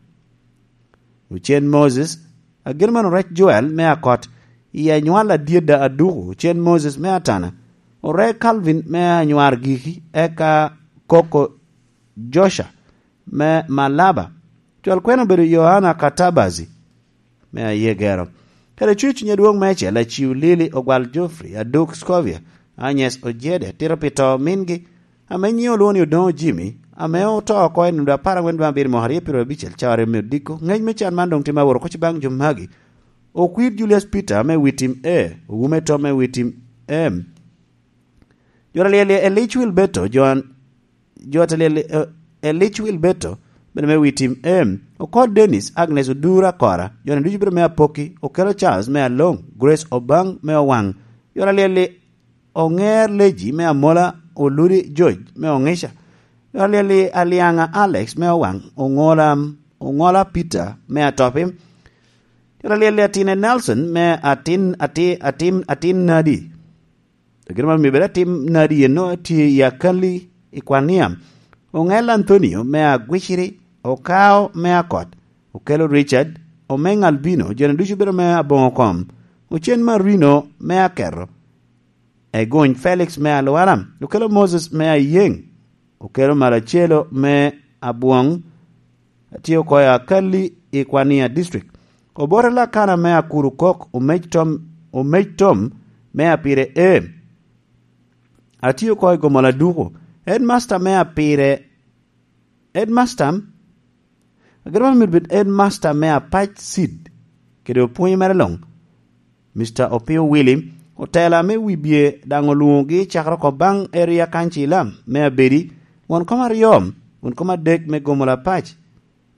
Ocen Moses, agin man Orec Joel me Akot i Anywal Adyedda Aduku, Ocen Moses me Atana, Orec Calvin me Anywar Giki, eka Koko Joca me Malaba. Cwal kwena obedo Yohana Katabazi me Ayegero. Kede cwec cuny adwoŋ meicel, Aciu Lili Ogwal Geoffrey, Aduk Scovia, Agnes Ojede, tito pi to mingi, ame nyiŋe olwoŋo ni Odoŋo Jimmy, ame oto oko i nwoŋo apar aŋwen dwe abiro mwaka aryo pyeraryo abicel, cawa aryo me odiko. Ŋec me can man doŋ tye ma woro oko baŋ jo magi. Okwir Julius Peter me Witim A, Owume Tom me Witim M. Jo ta lyel-li Elic Wilberto, Joan, jo ta lyel-li, eh, Elic Wilberto, bene me Witim M. Okot Dennis, Agnes Odura Kora, jo-ni ducu bene me Apoki, Okelo Charles me Aloŋ, Grace Obaŋ me Owaŋ. Jo ta lyel-li Oŋer Leji me Amola, Oludi George me Oŋica. Jo ta lyel-li Aliaŋa Alex me Owaŋ, Oŋola, Oŋola Peter me Atopi. Jo ta lyel-li Atine Nelson me Atin, Ati-, Atin, Atin Nadi. Agin man omio bed atim nadi eno tye i Akali i Kwania. Oŋel Anthonio me Agwiciri, Okao me Akot, Okelo Richard, Omeŋ Albino, jo-ni ducu bedo me Aboŋo Kom, Ocen Marino me Aketo, Egony Felix me Alwara, Okelo Moses me Ayeŋ, Okelo Malacelo me Abwoŋ, atye oko i Akali i Kwania District. Obote Lakana me Akuru Kok, Omec Tom, Omec Tom me Apire A. Atye oko i Gomola Duku. Headmaster me Apire, Headmaster, agero myero bed Headmaster me Apac Seed, kede opwonye mere luŋ. Mister Opio Willy, otela me Wibye daŋ olwoŋogi cakere oko baŋ Area Council me Abedi, won kom aryo, kun kom adek me Gomola Pac,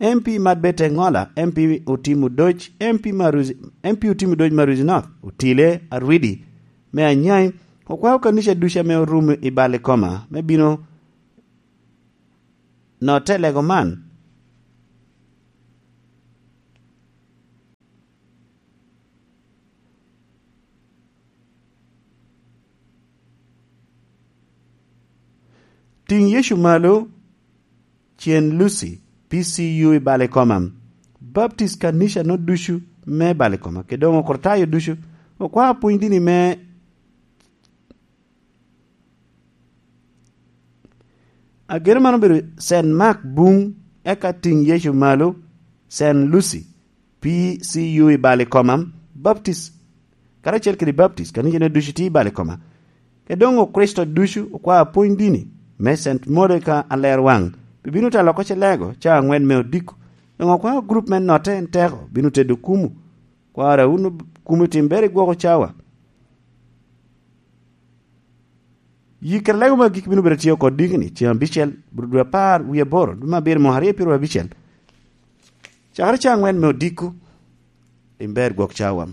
M P Madbete Ŋola, M P Otim Odoc, M P Maruzi, M P Otim Odoc Maruzi North, Otile Arwidi me Anyai, okwao kanica ducu ame orumo i Balikoma me bino notte lego man. Tiŋ Yecu malo, Cen Lucy, P C U i Balikoma, Baptist kanica no ducu me Balikoma, kede doŋ okritayo ducu, okwao pwony dini me Ageno man obedo Saint Mark Buŋ, eka Tiŋ Yecu Malo, Saint Lucy, P C U i Balikoma, Baptist, karacel kede Baptist, kanicane ducu tye i Balikoma. Kede doŋ Okricito ducu okwao pwony dini me Saint Monica Alerwaŋ, bibino talo oko Celego cawa aŋwen me odiko. Doŋ okwao gurup me notte en teko, bino tedo kumu. Kwara wun kumu tim ber i gwoko cawa. Yi kede lego me agikki bino bedo tye oko dikni, ceŋ abicel, bro dwe apar wie aboro, dwe me abiro mwaka aryo pyeraryo abicel. Cakere cawa aŋwen me odiko, tim ber gwok cawa.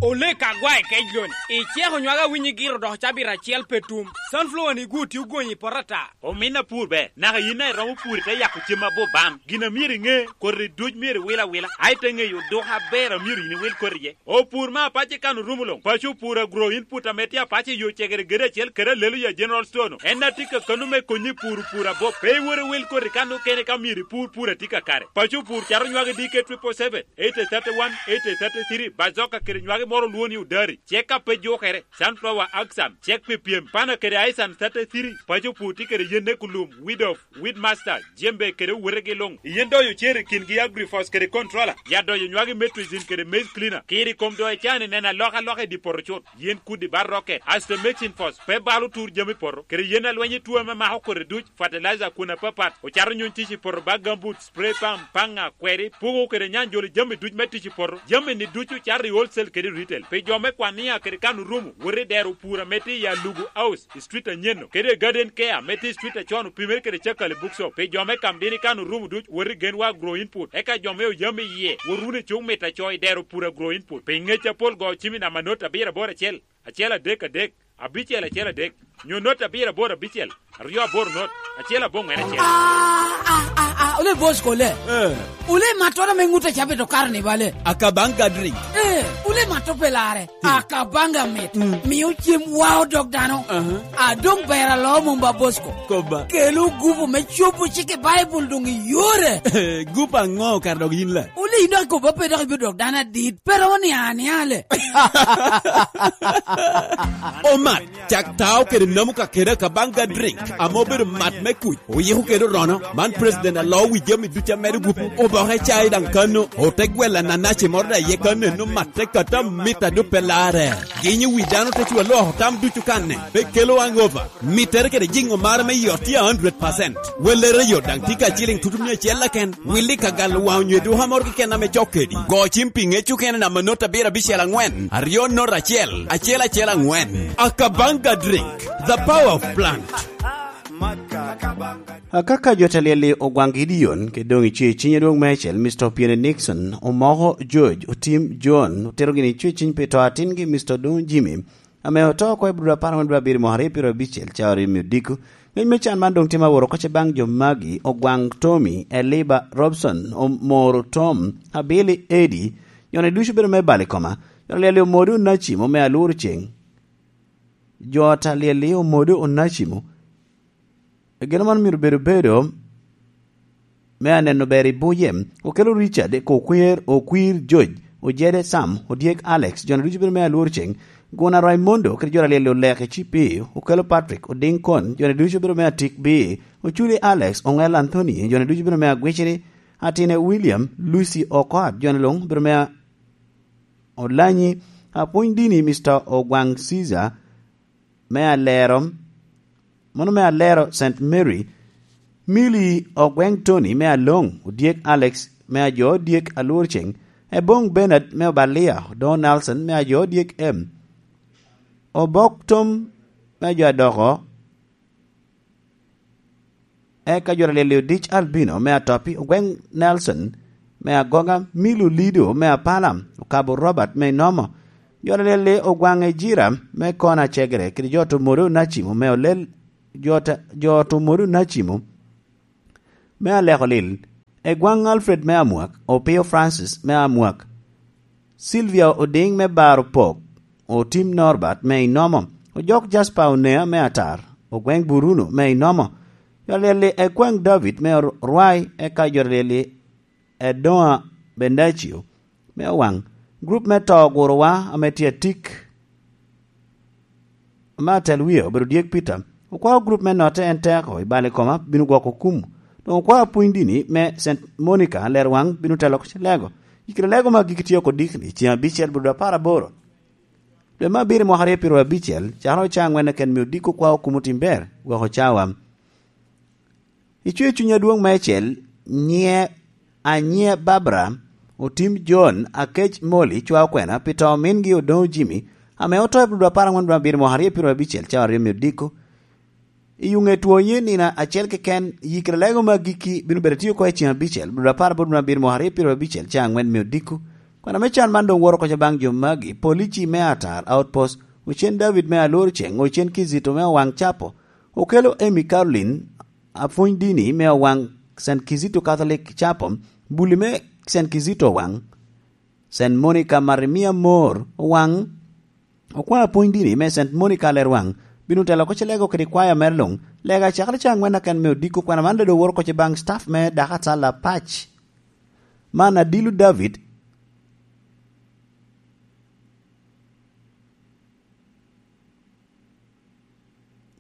Olek agwa i kec loni, iceko nywaka winyi giro dok cabit acel pe tum. Sunflower ni gu tye ogonyi i poto ata. Omin apur ber, naka yin a iromo pur ite yako cem abup bam. Gin a myero iŋe, koti duc myero iwil awila, a ite ŋeyo oduka aber a myero yin iwil koti iye. Opur me apac i kan orumo luŋ. Paco opur agro input ame tye apac i yo cegere gede acel kede alelo ya General Store-nu. En a tye ka kano me konyi i pur opur abup. Pe iwor iwil koti kan okene ka myero ipur pur a tye kakare. Paco opur cato nywagi D K triple seven, eight thirty-one, eight thirty-three, bazoka kede nywagi moro olwo ni odari. Cek a pe jukere, sunflower axan, cek pi pyem, pana kede aisan thirty-three, paco opur tye kede yen ekulum, weed off, weed master, jembe kede owetegi luŋ. Yen doyo cer i kingi agrifos kede controller, ya doyo nywagi metricin kede maize cleaner, kiri kom doyo cani neno alokaloka i di poto cut, yen kudi ba rocket, asto mixing force, pe balo tur jami poto, kede yen alweny i tuo ame mako kodi duc, fertilizer kun apapat, ocato nyuny tic i poto ba gambut, spray pump, paŋa, kweri, pugo kede nyanjolo jami duc me tic i poto, jami ni ducu cato i wholesale kede retail. Pi jo me Kwania kede kan orumo, wot i dero pur ame tye i Alugu House, i street anyen-nu, kede Garden Care ame tye i street acon opimere kede Cakali Bookshop. Pi jo me Kamdini kan orumo duc, wot i Genwa Agro Input. Eka jo me Oyam iye, wot wunu i Cuk Mit Aco i dero pur Agro Input. Pi ngec apol go cim i namba not abiro aboro acel, acel adek adek, abicel acel adek, nyo not abiro aboro abicel, aryo aboro not, acel aboŋwen acel. Ah, ah, ah, ah, ole boss kole. Eh. Ole matoro me ŋut a cabe to karo ni bale. Akabanga drink. Eh, ole mato pelare. Hmm. Akabanga mit. Hmm. Miyo cem wao dog dano. Aha. A dong ber alo mumba boss ko. Koba. Kelo gupu me cobo cik i Bible dong i yore. Gupu aŋo kar dog yin la? Ole ino akobo pe dok ibiro dok dano adit. Pero ni aniale. Omat, cak tao kede namu kakede Akabanga drink, ame obedo mat me kuc, oyiko kede orono. Man president aloo wi jami ducu amedo gupu. Oboke cai daŋ kano, ote gwela nanaci moro daŋ iye kano eno matte kata mita dupe lare. Ginyo wi dano te cwa loko tam ducu kanne, pe kelo hangover. Mittere kede jiŋo mara me yot tye a hundred percent. Wellere yot daŋ tye ka ciliŋ tutumia acel keken. Willi ka galo waŋ onyo eduka moro keken ame cok kedi. Go cim pi ŋec okene namba not abiro abicel aŋwen, aryo not acel, acel acel aŋwen. Akabanga drink, the power of plant. Akaka jo ta lyel-li ogwaŋ Gideon, kede doŋ i cwer ciny adwoŋ meicel, Mister Opiene Nixon, omoko George, Otim John, otero gini i cwer ciny pi to atingi, Mister Odoŋo Jimmy, ame oto oko i Abril apar angwen dwe abiro mwaka aryo pyeraryo abicel, cawa ryo me odiko. Ngec me can man doŋ tye ma woro oko ce baŋ jo magi, Ogwaŋ Tommy, Eliba Robson, Omoro Tom, Abili Edi, jone ducu bedo me bal i koma. Jo ta lyel-li omode onacimo me alworo ceŋ. Jo ta lyel-li omode onacimo. Gin man myero bedo bedo me aneno ber i buye, okelo Richard, Kokwer, Okwir, George, Ojede, Sam, Odyek, Alex, jone ducu bedo me alworo ceŋ, Guna, Raimondo, kede jo ta lyel-li oleke Cipi, okelo Patrick, Odiŋ Kon, jone ducu bedo me atik bi, Oculi Alex, Oŋel Anthony, jone ducu bedo me agwiciri, Atine William, Lucy Okot, jone luŋ bedo me a-, Olanyi, apwony dini Mister Ogwaŋ Caesar, me alero, mano me alero Saint Mary, Milly Ogweŋ Tony me Aloŋ, Odyek Alex me ajo Odyek Alworceng, Eboŋ Bernard me Obalia, Odoŋo Nelson me ajo Odyek M, Obok Tom me jo adoko, eka jo aryel-li Odic Albino me Atopi, Ogweŋ Nelson me Agoga, Milo Lido me Apala, Okabo Robert me Inomo, jo aryel-li Ogwaŋ Ejira me Kona Cegere, kede jo Tomodo Nacimo me Olel, jo ta-, jo Tomodo Nacimo me Aleko Lil, Egwaŋ Alfred me Amwak, Opio Francis me Amwak, Sylvia Odiŋ me Baro Pok, Otim Norbert me Inomo, Ojok Jasper Onea me Atar, Ogweŋ Buruno me Inomo, jo aryel-li Egwaŋ David me Rwai, eka jo aryel-li Edoŋa Bendacio me Owaŋ, gurup me To Ogurowa ame tye atik, ame atel wie obedo Dyek Peter. Okwao gurup me Notte en Teko i bal i koma bino gwoko kum. Doŋ okwao pwony dini me Saint Monica Lerwaŋ bino telo oko Lego. Yikere Lego me agikki tye oko dikni, ceŋ abicel, bur apar aboro, dwe me abiro, mwaka aryo pyeraryo abicel, cakere ocaŋ aŋwen keken, mio diko okwao kum otim ber, gwoko cawa. Icwer cuny adwoŋ meicel, nyiŋe Anyia Barbara, Otim John, Akec Molly, cwa okwena pi to omingi Odoŋo Jimmy, ame oto i Abril apar aŋwen dwe abiro mwaka aryo pyeraryo abicel, cawa aryo me odiko. I Yuŋe Twonyi nino acel keken, yikere Lego me agikki bino bedo atye oko i ceŋ abicel, Abril apar aboro dwe abiro mwaka aryo pyeraryo abicel, cawa aŋwen me odiko. Kwena me can man doŋ woto oko baŋ jo magi: Polici me Atar Outpost, Ocen David me Alor Ceŋ, Ocen Kizito me Owaŋ Capo, Okelo Amy Caroline, apwony dini me Owaŋ Saint Kizito Catholic Chapel, Buli me Saint Kizito Owaŋ, Saint Monica Marimia Mor Owaŋ, okwao apwony dini me Saint Monica Lerwaŋ, bino telo oko Lego kede kwaya mere luŋ. Lego acakere cawa aŋwen keken me odiko. Kwena man doŋ woto oko baŋ staff me Dakatala Pac. Man Adilu David.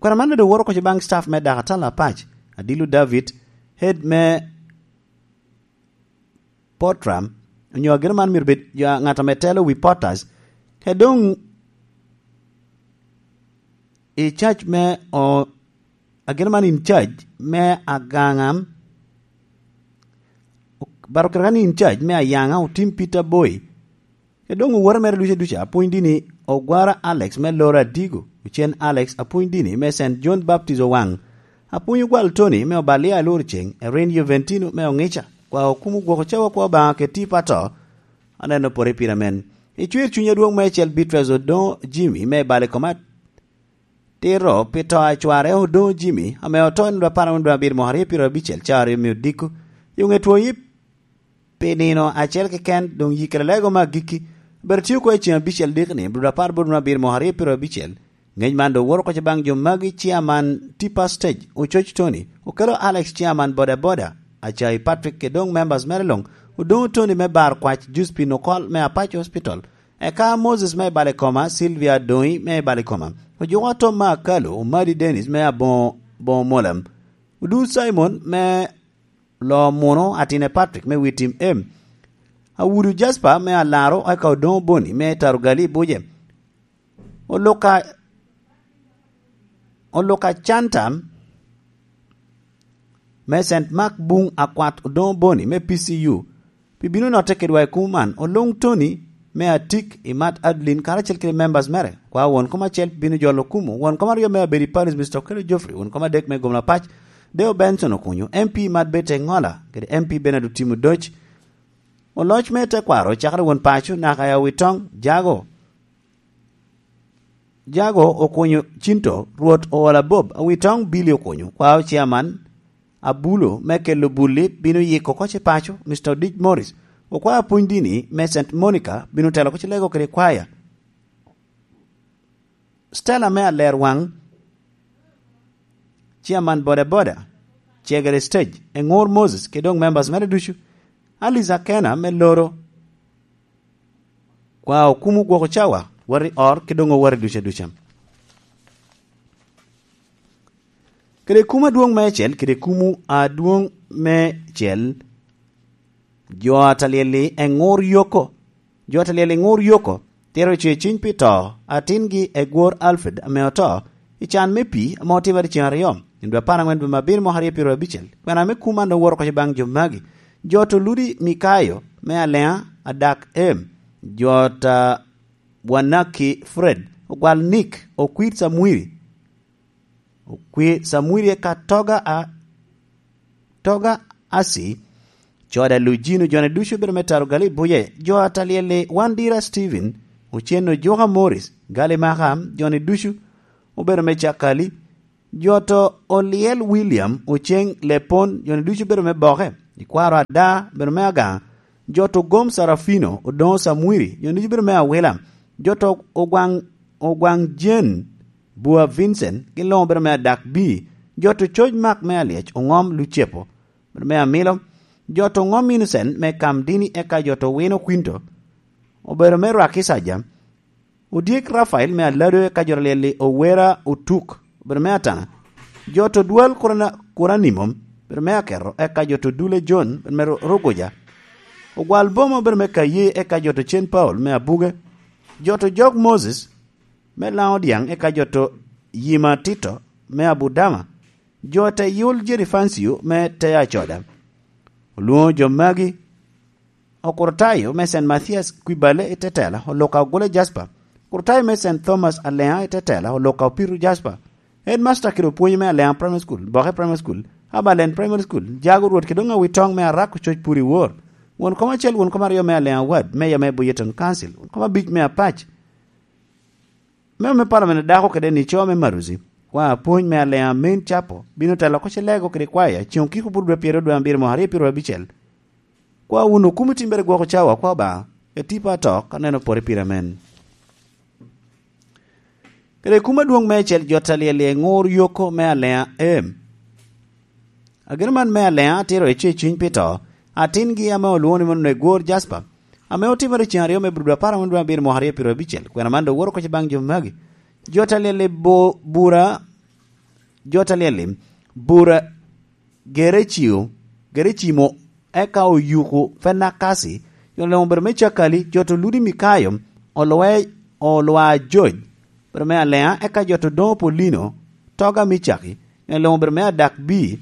Kwena man doŋ woto oko baŋ staff me Dakatala Pac, Adilu David, head me Potram, onyo ageno man myero bed jo, ŋat ame telo wi Potters, kede doŋ i charge me o-, ageno man in charge me Agaŋa, baro kare kan in charge me Ayaŋa, Otim Peter Boy, kede doŋ oworo mere ducu aduca, apwony dini Ogwara Alex me Loro Adigo, Ocen Alex, apwony dini me Saint John Baptist Owaŋ, apwony Ogwal Tony me Obalia Alor Ceŋ, Erin Juventino me Oŋica, kwa okumo gwoko cawa kwa Obaŋa kede tipo ato, aneno pore pira men. Icwer cuny adwoŋ meicel, Beatrice Odoŋo Jimmy me Bale Komat, tito pi to a cware Odoŋo Jimmy, ame oto i nino apar aŋwen dwe abiro mwaka aryo pyeraryo abicel, cawa aryo me odiko. Yuŋe Twonyi pi nino acel keken, doŋ yikere Lego me agikki, obedo tye oko i ceŋ abicel dikni, Abril apar aboro dwe abiro mwaka aryo pyeraryo abicel. Ŋec man doŋ woto oko baŋ jo magi: Chairman Tipa Stage, Ococ Tony, Okelo Alex, Chairman Boda Boda, Acai Patrick, kede doŋ members mere luŋ, Odoŋo Tony me Bar Kwac, Josephine Okol me Apac Hospital, eka Moses me Balikoma, Sylvia Adoŋi me Balikoma, Ojuko Atom me Akalo, Omadi Dennis me Aboŋo, Boŋo Molem, Odur Simon me Loo Muno, Atine Patrick me Witim Em, Awudu Jasper me Alaro, eka Odoŋo Boni me Tarugali Buje, Oluka, Oluka Canta me Saint Mark Buŋ, Akwat Odoŋo Boni me P C U, pi bino notte kedwa i kumo man, Oluŋ Tony me Atik, Imat Adeline, karacel kede members mere, kwa won kom acel bino jolo kumo, won kom aryo me Abedi Parish, Mister Okello Geoffrey, won kom adek me Gomla Pac, Deo Benson Okunyo, M P Imat Bete Ŋola, kede M P Bernard Otimo Doc, Oloc me tekwaro cakere won paco naka i Awitoŋ, Jago, Jago Okunyo Cinto, Rwot Oola Bob, Awitoŋ Billy Okunyo, kwao Chairman Abulo me Kelo Bulli bino yiko oko ce paco, Mister Odic Morris, okwao apwony dini me Saint Monica bino telo oko ce Lego kede kwaya. Stella me Alerwaŋ, Chairman Boda Boda, Cegere Stage, Eŋor Moses, kede doŋ members mere ducu. Alice Akena me Loro, kwa okumo gwoko cawa, wot i or, kede doŋ owot i duca duca. Kede kumo adwoŋ meicel, kede kumo adwoŋ meicel, jo a talyel-li Eŋor Yoko, jo a talyel Eŋor Yoko, tito cwer cuny pi to atingi Egwor Alfred ame oto i can me pii ame otimere ceŋ aryo, i dwe apar aŋwen dwe me abiro mwaka aryo pyeraryo abicel. Kwena me kumo an doŋ woto oko baŋ jo magi: jo Toludi Mikayo me Aleŋa, Adak Em, jo ta Wanaki Fred, Ogwal Nick, Okwir Samwiri, Okwi Samwiri eka Toga a, Toga Asi, Coda Lujino, jone ducu bedo me Taro Gali Buje, jo a Talyel-li, Wandira Steven, Ocen Ojuka Morris, Gali Maka, jone ducu obedo me Cakali, jo to Olyel William, Oceng Lepon, jone ducu bedo me Boke, Ikwaro Ada, bedo me Agaŋa, jo to Gom Sarafino, Odoŋo Samwiri, jone ducu bedo me Awila, jo to Ogwaŋ, Ogwaŋ Jen, Bua Vincent, gin luŋ obedo me Adak Bii, jo to Coc Mak me Alyec, Oŋom Lucepo, obedo me Amilo, jo to Oŋom Innocent me Kamdini, eka jo to Wino Kwinto, obedo me Rwaki Saja, Odyek Rafael me Alado, eka jo to Lyel-li Owera Otuk, obedo me Ataŋa, jo to Dwal Kurana-, Kuranimo, obedo me Aketo, eka jo to Dule John, obedo me Ro-, Rogoja, Ogwal Boma, obedo me Kaye, eka jo to Cen Paul me Abuge, jo to Jok Moses, me Laŋo Dyaŋ, eka jo to Yima Tito me Abudama, jo te Yul Jerifancio me te Acoda. Olwoŋo jo magi, Okurtayo me Saint Mathias Kwibale i Tetela, Oluka Ogule Jasper, Okurtayo me Saint Thomas Aleŋa i Tetela, Oluka Opiru Jasper, Headmaster kede opwonye me Aleŋa Primary School, Boke Primary School, Abalen Primary School, Jago Rwot kede Oŋawi Toŋ me Arak Ococ Puri Wor, won kom acel, won kom aryo me Aleŋa Ward, Mayor me Buyeton Council, won kom abic me Apac, Memo me Parliament a dako kede ni co me Maruzi, wa apwony me Aleŋa Main Chapo, bino telo oko Celego kede kwaya, ceŋ okiko bur dwe pyero dwe abiro mo aryo pyero abicel. Kwa wun okumo timbere gwoko cawa, kwa Obaŋa, e tipo ato, ka neno pore pire amen. Kede kum adwoŋ meicel, jo Talyel-li Ŋur Yoko me Aleŋa Em. Ageno man me Aleŋa atiro i cuny pi to, atingi ame olwoŋo ni Onegwor Jasper, ame otimere ceŋ aryo me Budo apar aŋwen dwe abiro mwaka aryo pyero abicel, kwena man doŋ woto oko baŋ jo magi. Jo Talyel-li bo-, bura, jo Talyel-li bura Gerecimo, Gerecimo, eka Oyuku Fenakasi, jo Leŋo obedo me Cakali, jo to Ludi Mikayo, Olwe-, Olwa Joj, obedo me Aleŋa, eka jo to Doŋo Polino, Toga Micaki, jo Leŋo obedo me Adak Bii,